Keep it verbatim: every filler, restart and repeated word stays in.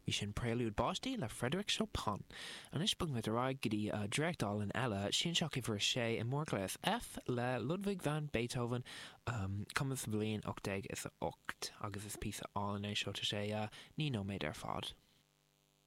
Bhí sin Préalúid Báistí le Frédéric Chopin. Anois bogfaimid ar aghaidh go dtí dréacht álainn eile, Sianseach uimhir a sé i mórghléas F le Ludwig van Beethoven, cumtha sa bhliain ocht déag is a ocht, agus is píosa álainn é seo, tá sé naoi nóiméad ar fad.